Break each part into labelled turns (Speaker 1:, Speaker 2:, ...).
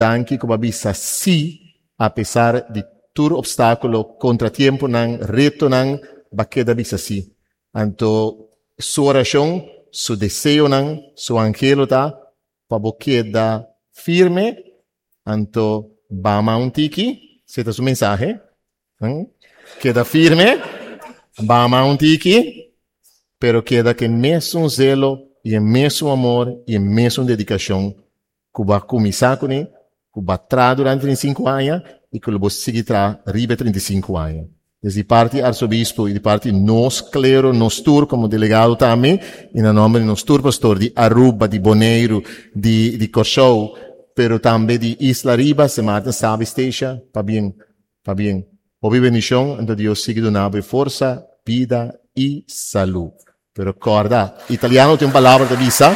Speaker 1: Danki ku bo a bisa sí apesar di tur opstákulo, kontratiemponan, retonan, bo a keda bisa sí. Anto su orashon, su deseonan, su anhelo ta pa bo keda firme, anto bama un tiki, esei ta su mensahe, keda firme, bama un tiki, pero keda ku e mesun zelo i e mesun amor i e mesun dedikashon ku bo a kuminsá kuné, ku bo a traha durante 35 aña i ku lo bo sigui traha riba e 35 aña. Des di parti Arsobispo i di parti nos klero, nos tur komo delegado tambe, i na nòmber di nos tur pastor di Aruba, di Boneiru, di di Kòrsou, pero tambe di Isla Riba, Sint Maarten, Saba i Statia, pabien, pabien. Hopi bendishon, anto Dios sigui duna bo e forsa, bida i salú. Pero kòrda, italiano tin un palabra ta bisa.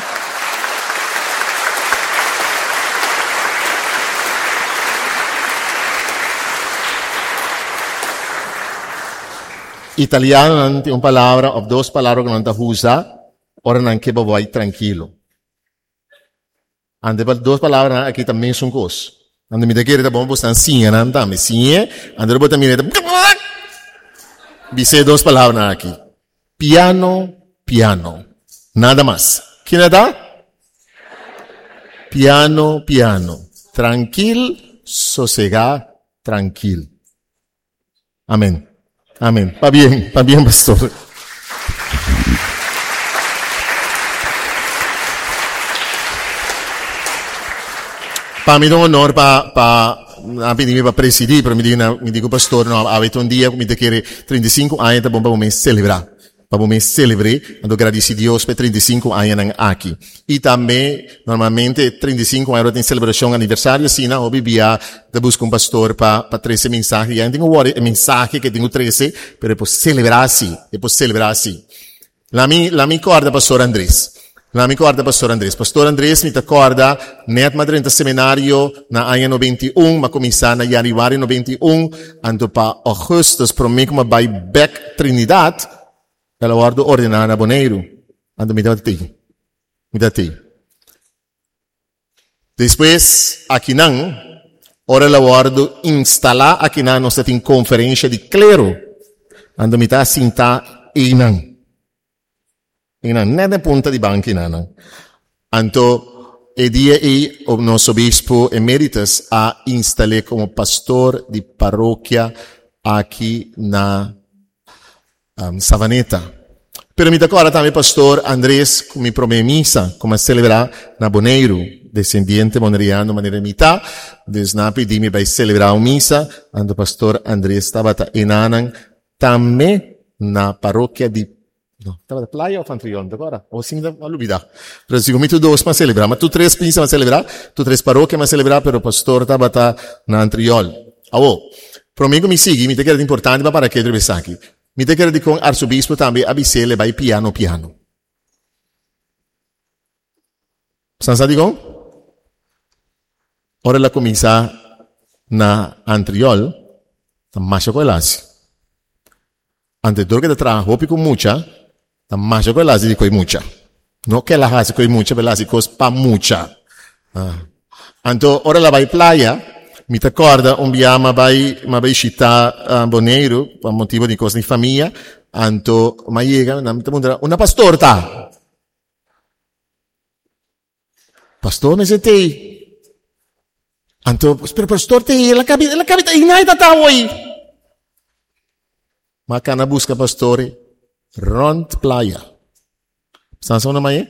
Speaker 1: Italianonan tin un palabra òf dos palabra ku nan ta usa ora nan ke bo bai trankilo. Ante pa dos palabranan aki ta mesun kos. Ante mi ta kere ta bon pa bosnan siña nan tambe. Siñ'e, ante bo ta mira e ta Bis'e dos palabranan aki. Piano, piano. Nada mas. Kina ta? Piano, piano. Trankil, sosegá, trankil. Amen. Amen. Pabien, pabien pastor. Pa mi ta un honor pa pa nan pidi mi pa presidi, pero mi di na mi di ku pastor no awe ta un dia ku mi ta kere 35 aña ta bon pa bo mes selebrá. Pa bo mes selebr'é, anto gradisí Dios pa e 35 añanan aki. I tambe, normalmente 35 aña ora tin selebrashon aniversario asina, hopi bia ta buska un pastor pa pa trese mensahe. Ya no tin ku wòri e mensahe ke tin ku trese, pero e por selebrá si, e por selebrá si. Lami lami kòrda pastor Andres. Lami kòrda pastor Andres. Pastor Andres mi ta kòrda nèt m'a drenta seminario na aña 91, m'a kuminsá na yanüari 91, anto pa ògùstùs promé ku m'a bai bèk Trinidad, el a wòrdu ordená na Boneiru. Anto mi tabata tei. Mi tabata tei. Despues akinan, ora el a wòrdu instalá akinan nos ta tin konferensha di klero. Anto mi ta sintá einan. Einan, nèt na punta di bankinan. Anto e dia ei nos obispo emeritus a instal'é komo pastor di parokia aki na Savaneta. Pero mi ta kòrda tambe Pastor Andres ku mi promé misa ku mi a selebrá na Boneiru, desendiente boneriano manera mi ta, dus nan a pidi mi bai selebrá un misa, anto Pastor Andres tabata enanan tambe na parokia di, no, tabata Playa òf Antriol, mi ta kòrda, o si mi ta a lubidá, pero sigur mi tur dos mi a selebrá, ma tur tres misa mi a selebrá, tur tres parokia mi a selebrá, pero Pastor tabata na Antriol. Awor, promé ku mi sigui, mi ta kere ta importante pa para ketu riba esaki. Mi ta kere dikon arsobispo tambe a bis'é le bai piano piano. San sa dikon? Ora el a kuminsá na Antriol, ta masha ku el hasi. Ante dor ku e ta traha hopi ku mucha, ta masha ku el hasi di koe mucha. No ku el a hasi koe mucha, pero el a hasi kos pa mucha. Anto ora el a bai playa, mi ta kòrda un bia m'a bai m'a bai shita Boneiru pa motibu di kos di famia, anto m'a yega nan ta puntra, Unda pastor ta? Pastor mester t'ei. Anto, pero pastor t'ei, el a kabi, el a kabi ta einan e ta ta awor. M'a kana buska pastor rònt playa. Sa sa unda m'a e?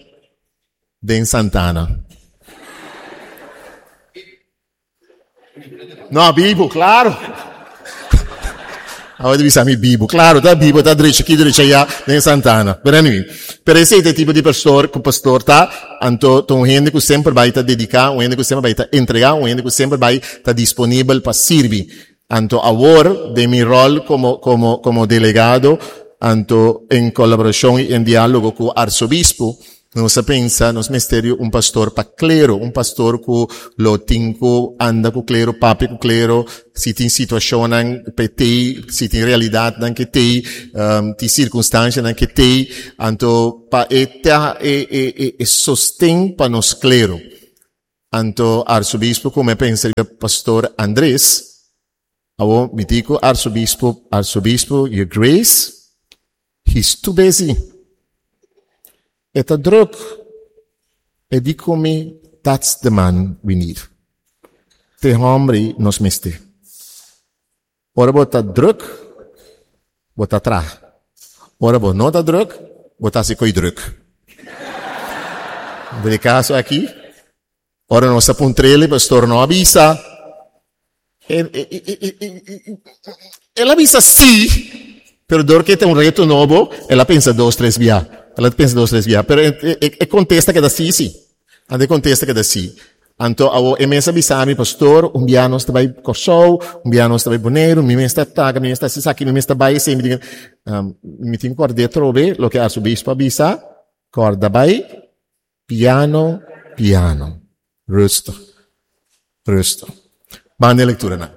Speaker 1: Den Santana. No, bibu, claro. Awor ta bisa mi bibu. Claro, ta bibu, ta drecha aki, drecha allá, den Santana. Pero anyway, pero esei ta e tipo di pastor ku pastor ta. Anto ta un hende ku semper bai ta dediká, un hende ku semper bai ta entregá, un hende ku semper bai ta disponibel pa sirbi. Anto awor, den mi ròl komo komo komo delegado, anto en kolaborashon i en diálogo ku arsobispu, nos a pensa nos mester di un pastor pa klero, un pastor ku lo tin ku anda ku klero, papia ku klero, si tin situashonnan p'e tei, si tin realidatnan ke tei, tin sirkunstanshanan ke tei, anto pa e ta e e e sosten pa nos klero. Anto arsobispo ku mi a pensa riba pastor Andres. Awor mi di ku arsobispo, arsobispo, your grace, he's too busy. E ta druk. E di ku mi, that's the man we need. Te hombre nos mester. Ora bo ta druk, bo ta traha. Ora bo no ta druk, bo ta hasi koi druk. Den e kaso aki, ora nos a puntr'el, e pastor no a bisa. El a bisa sí, pero dor ke ta un reto nobo, el a pensa dos, tres bia. El a pensa dos, tres bia. Pero e kontesta keda sí, sí. Anto e kontesta keda sí. Anto awor e mes a bisa mi, Pastor, un bia nos ta bai Kòrsou, un bia nos ta bai Boneiru, mi mes ta taga, mi mes ta hasi esaki, mi mes ta bai esei. Mi tin, mi tin kòrd'é atrobe loke arzobispo a bisa, kòrda bai piano, piano, rustig, rustig. Banda e lekturanan.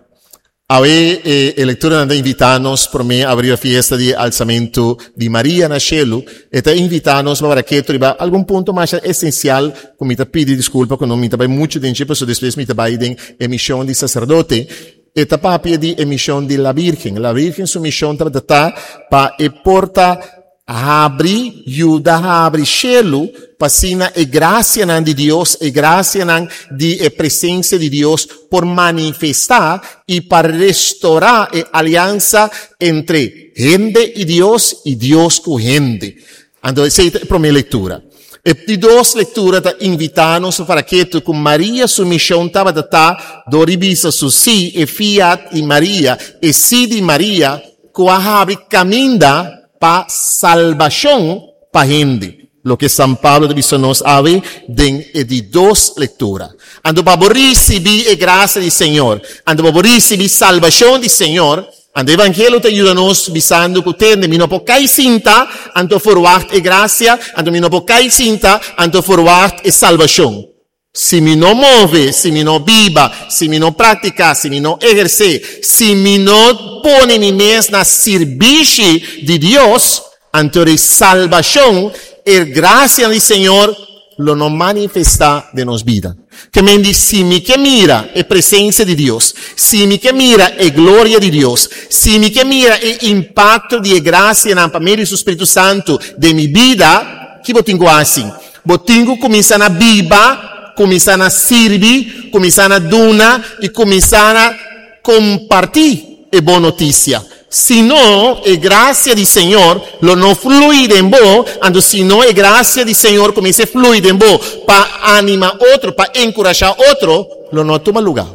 Speaker 1: Awe e e lekturanan ta invitá nos promé abri e fiesta di alsamentu di Maria na shelu. E ta invitá nos pa raketo riba algun punto masha esensial ku mi ta pidi diskulpa ku no mi ta bai muchu den dje pasobra despues mi ta bai den e mishon di saserdote. E ta papia di e mishon di la Virgen. La Virgen su mishon tabata ta pa e por ta Habri, yuda habri shelu pa asina e grasianan di Dios, e grasianan di e presensia di Dios por manifestá i pa restorá e aliansa entre hende i Dios i Dios ku hende. Anto esei ta e promé lektura. E di dos lektura ta invitá nos pa para ketu ku Maria su mishon tabata ta dor di bisa su sí, e fiat di Maria, e sí di Maria, ku a habri kaminda pa salbashon pa hende, loke San Pablo ta bisa nos awe den e di dos lektura. Anto pa bo risibí e grasia di Señor, anto pa bo risibí salbashon di Señor, anto e evangelio ta yuda nos bisando ku tende, mi no por kai sinta, anto ferwagt e grasia, anto mi no por kai sinta, anto ferwagt e salbashon. Si mi no move, si mi no biba, si mi no praktiká, si mi no ehersé, si mi no pone mi mes na sirbishi di Dios, anto e salbashon, e grasianan di Señor lo no manifestá den nos bida. Ke men di si mi ke mira e presensia di Dios, si mi ke mira e gloria di Dios, si mi ke mira e impakto di e grasianan pa medio di su Spiritu Santu den mi bida, ki bo tin ku hasi? Bo tin ku kuminsá na biba, kuminsá na sirbi, kuminsá na duna i kuminsá na kompartí e bon notisia. Si no, e grasia di Señor lo no flui den bo, anto si no e grasia di Señor kuminsá flui den bo pa anima otro, pa enkurashá otro, lo no tuma lugá.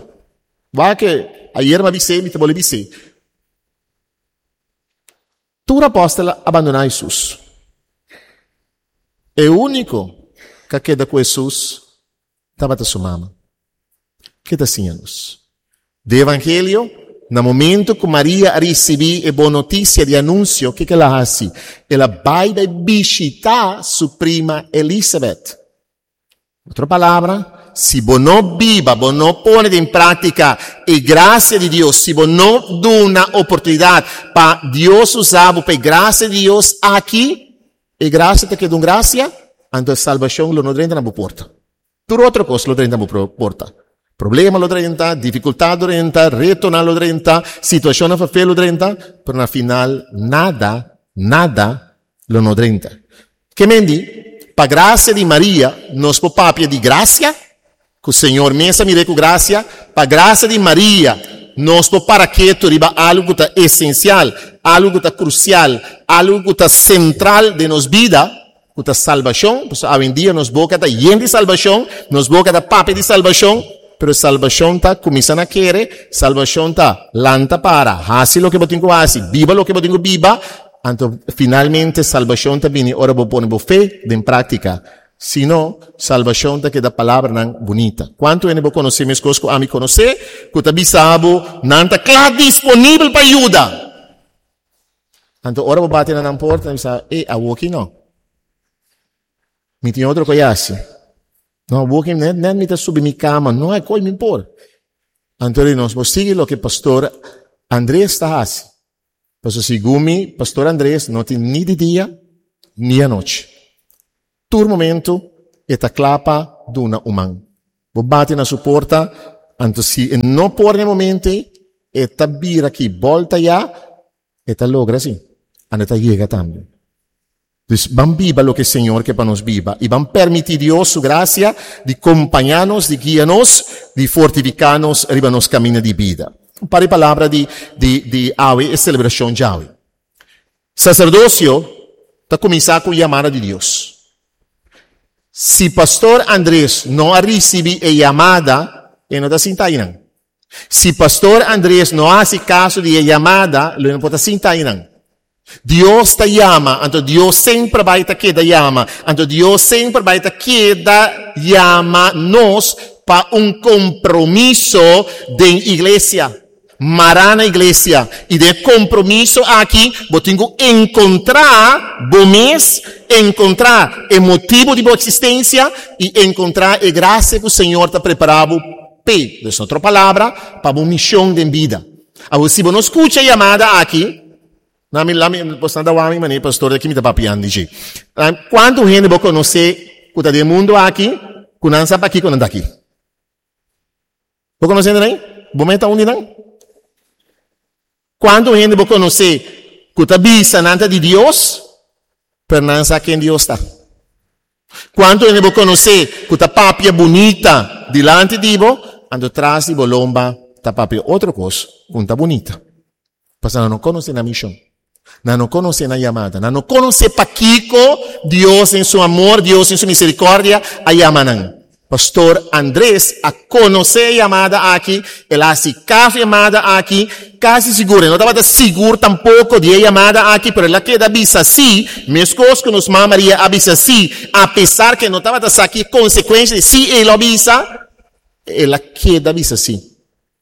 Speaker 1: Wak ke ayer mi a bis'é, mi ta bolbe bis'é. Tur apòstel a bandoná Hesus. E úniko ku a keda ku Hesus tabata su mama. Ke ta siña nos? Den Evangelio, na momentu ku Maria a risibí e bon notisia di anunsio, kiko el a hasi? El a bai bai bishitá su prima Elisabèt. Otro palabra, si bo no biba, bo no pone den práktika e grasia di Dios, si bo no duna oportunidat pa Dios usa bo pa e grasia di Dios aki, e grasia ta keda un grasia, anto e salbashon lo no drenta na bo porta. Tur otro kos lo drenta na bo porta. Problema lo drenta, difikultat lo drenta, retonan lo drenta, situashonnan fafel lo drenta, pero na final nada, nada lo no drenta. Ke men di, pa grasia di Maria nos por papia di grasia, ku Señor mes a mir'é ku grasia, pa grasia di Maria nos por para ketu riba algu ku ta esensial, algu ku ta krusial, algu ku ta sentral den nos bida, ku ta salbashon, pasobra awendia nos boka ta yen di salbashon, nos boka ta papia di salbashon, pero salbashon ta kuminsá na kere, salbashon ta lanta para, hasi loke bo tin ku hasi, biba loke bo tin ku biba, Anto finalmente salbashon ta bini ora bo pone bo fe den práktika. Si no, salbashon ta keda palabranan bunita. Kuantu hende bo konosé meskos ku ami konosé ku ta bisa bo nan ta kla disponibel pa yuda? Anto ora bo bati na nan porta nan bisa, e awoki no. Mi tin otro kos hasi. No, awoki net net mi ta subi mi kama, no hay kos mi por. Anto di nos, bo sigui loke pastor Andres ta hasi. Pasobra segun mi, Pastor Andres no tin ni di dia ni anochi. Tur momento e ta kla pa duna un man. Bo bati na su porta, anto si e no por na e momento ei, e ta bira aki bolta ya, e ta logra si, anto e ta yega tambe. Dus ban biba loke Señor ke pa nos biba i ban permití Dios su grasia di kompañá nos, di guia nos, di fortifiká nos riba nos kaminda di bida. Un par di palabra di di di awe e selebrashon djawe. Saserdosio ta kuminsá ku yamada di Dios. Si Pastor Andres no a risibí e yamada, e no ta sinta einan. Si Pastor Andres no a hasi kaso di e yamada, lo e no por ta sinta einan. Dios ta yama, anto Dios semper bai ta keda yama. Anto Dios semper bai ta keda yama nos pa un kompromiso den iglesia. Mará na iglesia. I den e kompromiso aki bo tin ku enkontrá bo mes, enkontrá e motibu di bo eksistensia i enkontrá e grasia ku Señor ta prepará bo p'e. Dus otro palabra, pa bo mishon den bida. Awor si bo no skucha e yamada aki, na mi lami bo ta wak mi manera pastor di aki mi ta papiando di dje. Kuantu hende bo konosé ku ta den e mundu aki ku nan sa pakiko nan ta aki? Bo konosé hende nan? Bo meta un di nan? Kuantu hende bo konosé ku ta bisa nan ta di Dios, pero nan sa ken Dios ta? Kuantu hende bo konosé ku ta papia bunita dilanti di bo, anto tras di bo lomba ta papia otro kos ku no ta bunita? Pasobra nan no konosé nan mishon. Nan no konosé nan yamada. Nan no konosé pakiko Dios den su amor, Dios den su miserikordia a yama nan. Pastor Andres a konosé e yamada aki, el a hasi kaso e yamada aki, kasi sigur, e no tabata sigur tampoko di e yamada aki, pero el a keda bisa sí, meskos ku nos Mama Maria a bisa sí, apesar ku e no tabata sa ki konsekuensha di sí el a bisa, el a keda bisa sí.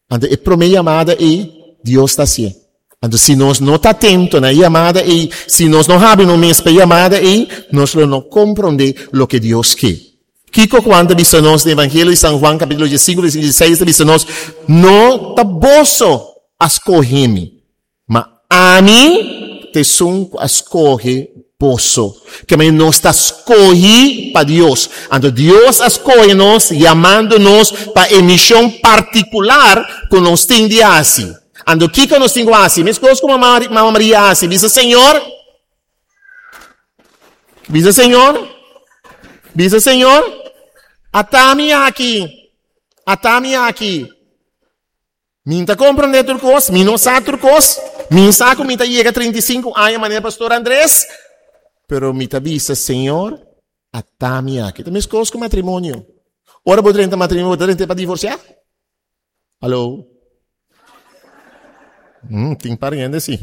Speaker 1: Anto e promé yamada ei, Dios ta hasié. Anto si nos no ta atento na e yamada ei, si nos no habri nos mes pa e yamada ei, nos lo no komprondé loke Dios ke. Kiko Juan ta bisa nos den Evangelio di San Juan kapítulo diesinku versíkulo dieseis ta bisa nos, No ta boso a skohe mi, Ma ami ta esun ku a skohe boso. Ke manera nos ta skohí pa Dios. Anto Dios a skohe nos yamando nos pa e mishon partikular ku nos tin di hasi. Anto kiko nos tin ku hasi? Meskos ku mama Maria a hasi, bisa Señor, bisa Señor, bisa Señor, ata mi aki, ata mi aki. Mi no ta komprondé tur kos, mi no sa tur kos, mi sa ku mi ta yega 35 aña manera Pastor Andres, pero mi ta bisa, Señor, ata mi aki. Ta meskos ku matrimonio. Ora bo drenta matrimonio, bo ta drenta pa divorsiá? Hallo? Tin par hende si.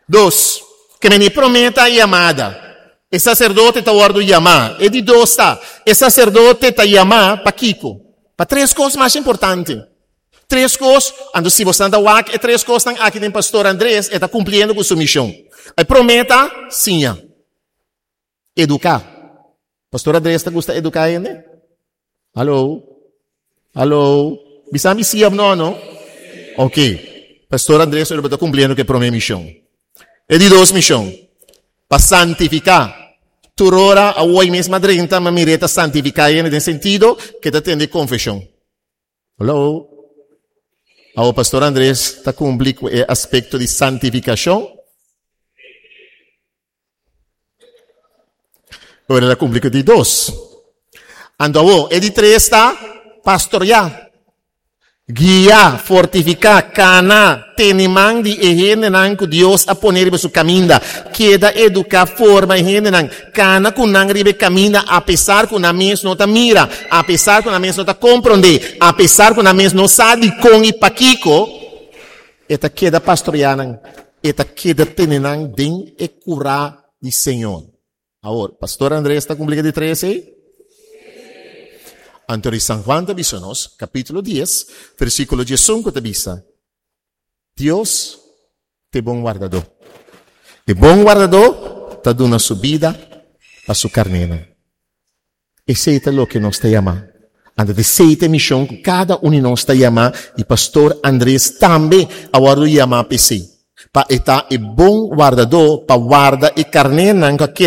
Speaker 1: Dos, ke men e promé ta yamada. E saserdote ta wòrdu yamá. E di dos ta, e saserdote ta yamá pa kiko? Pa tres kos masha importante. Tres kos, anto si bosnan ta wak e tres kosnan aki den Pastor Andres, e ta kumpliendo ku su mishon. E promé ta, siña. Eduká. Pastor Andres ta gusta eduká hende? Hallo? Hallo? Bisa mi sí of no, no? Ok. Pastor Andres ora ta kumpliendo ku e promé mishon. E di dos mishon, pa santifiká. Tur ora awor mes m'a drenta, m'a mir'é ta santifiká hende den sentido ku e ta tende konfeshon. Hallo? Awor Pastor Andres ta kumpli ku e aspekto di santifikashon? Ora el a kumpli ku di dos. Anto awor, e di tres ta pastoriá, guia, fortifiká, kana, tene man di e hendenan ku Dios a pone riba su kaminda. Keda eduká, forma e hendenan, kana ku nan riba e kaminda apesar ku nan mes no ta mira, apesar ku nan mes no ta komprondé, apesar ku nan mes no sa dikon i pakiko. E ta keda pastoriá nan, e ta keda tene nan den e kurá di Señor. Awor, Pastor Andrés ta kumpli ku di tres ei? Anto di San Juan ta bisa nos, kapítulo dies, versíkulo diesun ku ta bisa, Dios ta e bon wardadó. E bon wardadó ta duna su bida pa su karnénan. Esei ta loke nos ta yamá. Anto ta esei ta e mishon ku kada un di nos ta yamá i Pastor Andres tambe a wòrdu yamá pa esei, pa e ta e bon wardadó pa warda e karnénan ku a keda.